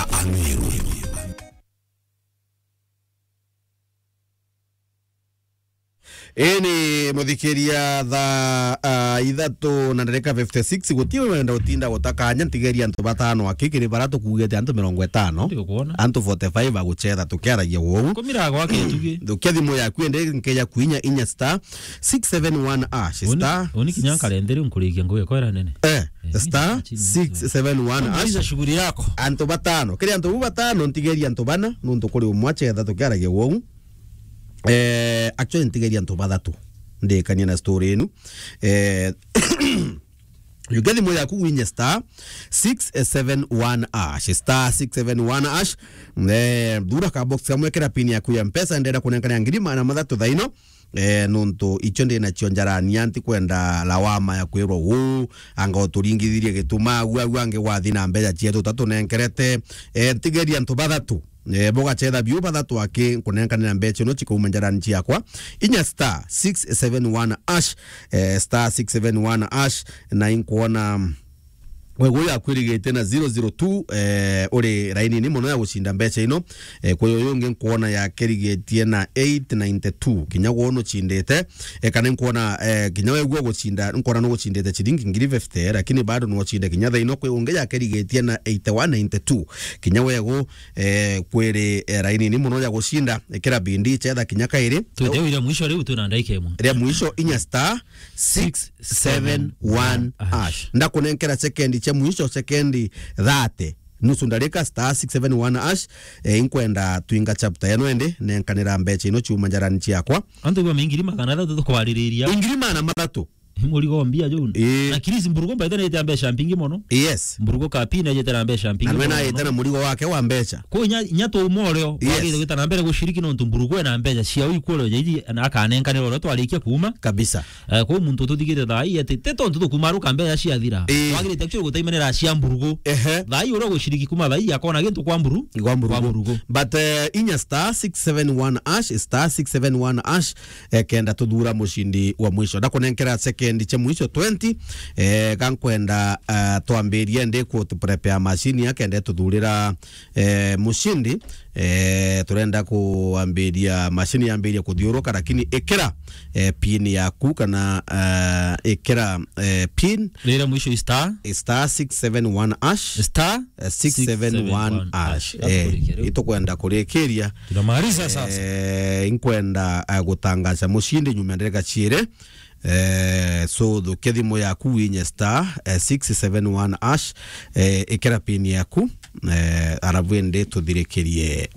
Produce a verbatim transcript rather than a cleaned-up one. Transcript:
Ameru. Ini muthikiria thaa, ah, ithatu na ndereka fifty six, guti wenda utinda gutakanya, ntigeria antu batano aki kiri bara tukugite antu mirongo itano. Ndikuona. Antu forty five aguchetha tukiaragia wou. Kumira gwake tugi. Thukia thimu yaku ende nkeja kuinya inya star six seven one hash, Uni, star uni kinya nkarendere nkurikia ngugi kwera nene. Eh, Eh, star six seven one hash. Maliza shughuli yako. Antu batano. Kiri antu bu batano, ntigeria antu bana, nuntu kuri umwe achetha tukiaragia wou. Eh, actually, ntigeria antu bathatu. Ndikania na story inu. Eh, yukia thimu yaku winye star six seven one hash, star six seven one hash. Eh, thura ka box kamwe, kira pin yaku ya Mpesa, ndenda kunenkana ngiri magana mathatu thaino. Eh, nuntu icio ndi nacio njarania, ntikwenda lawama ya kwirwa uu, anga uturingithirie gituma, agu, agu angi wathi na mbeca cietu tatunenkerete. Eh, ntigeria antu bathatu. Eh, bugachetha biu bathatu aki nkunenkanira mbeca ino cikauma njarani ciakwa. Inya star six seven one hash, eh, star six seven one hash, na inkwona, mm, we uyu akwirigitie na zero zero two, eh, uri raini ni mono ya gucinda mbeca ino. Eh, kwi uyu ungi nkwona yakirigitie na eight ninety two. Kinya gwe nucindite, eh, kana nkwona, eh, kinya we gwe gucinda, nkwona nugucindite ciringi ngiri fifty, lakini bado nucinde kinya thaa ino. Kwi ungi yakirigitie na eighty one ninety two. Kinya we gu, eh, kwiri, eh, raini ni mono ya gucinda, ikira bindi chetha kinya kairi. Twite ira mwisho riu twina ndaika imwe. Ria mwisho inya star six seven one hash. Ndakunenkera sekendi cia mwisho, sekendi thirty. Nusu ndarika, star six seven one hash. Eh, inkwenda twinga chapter yano ende, nenkanira mbeca ino ciuma njarani ciakwa. Antu ba ngiri magana athatu tukwaririria. Ngiri magana mathatu. Murigo mbia juu. Ii. Na Chris Mburugo mbaite na ite mbeca mpingi mono. Yes. Mburugo ka pin na ite na mbeca mpingi mono. Na we na ite na murigo wake wa mbeca. Kwa nya, nya tu moreo, yes, wagire gwita na mbere gushiriki nontu Mburugo ena mbeca cia uiku oro jaiji na akanenkanira oro twarikia kuuma. Kabisa. Eh, kwa muntu tuthigite thaa ii ati, te tontu tukumaruka mbeca ciathira. Ii. Wagirite actually gutaimanira cia Mburugo. Ehe. Thaa ii uria gushiriki kuuma thaa ii akona gintu kwa Mburu-, kwa Mburugo. Kwa Mburugo. But, eh, inya star six seven one hash, star six seven one hash, eh, kenda tuthura mucindi wa mwisho. Ndakunenkera sekendi cia mwisho twenty, eh, gankwenda, eh, twambirie ndi ku prepare machine ya kenda tuthurira, eh, mucindi. Eh, turenda kuambiria machine yambirie kuthiuruka, lakini ikira, eh, pin yaku kana, eh, ikira, eh, pin. Rira mwisho i star. Star six seven one hash. Star eh, six seven one hash. Six seven one hash. Eh, itukwenda kurikiria. Tunamaliza sasa. Eh, inkwenda, eh, gutangaza mucindi nyuma ya ndereka ciiri. Eh, so thukia thimu yaku winye star, eh, six seven one hash, eh, ikira pin yaku, eh, arabu indi tuthirikirie, eh,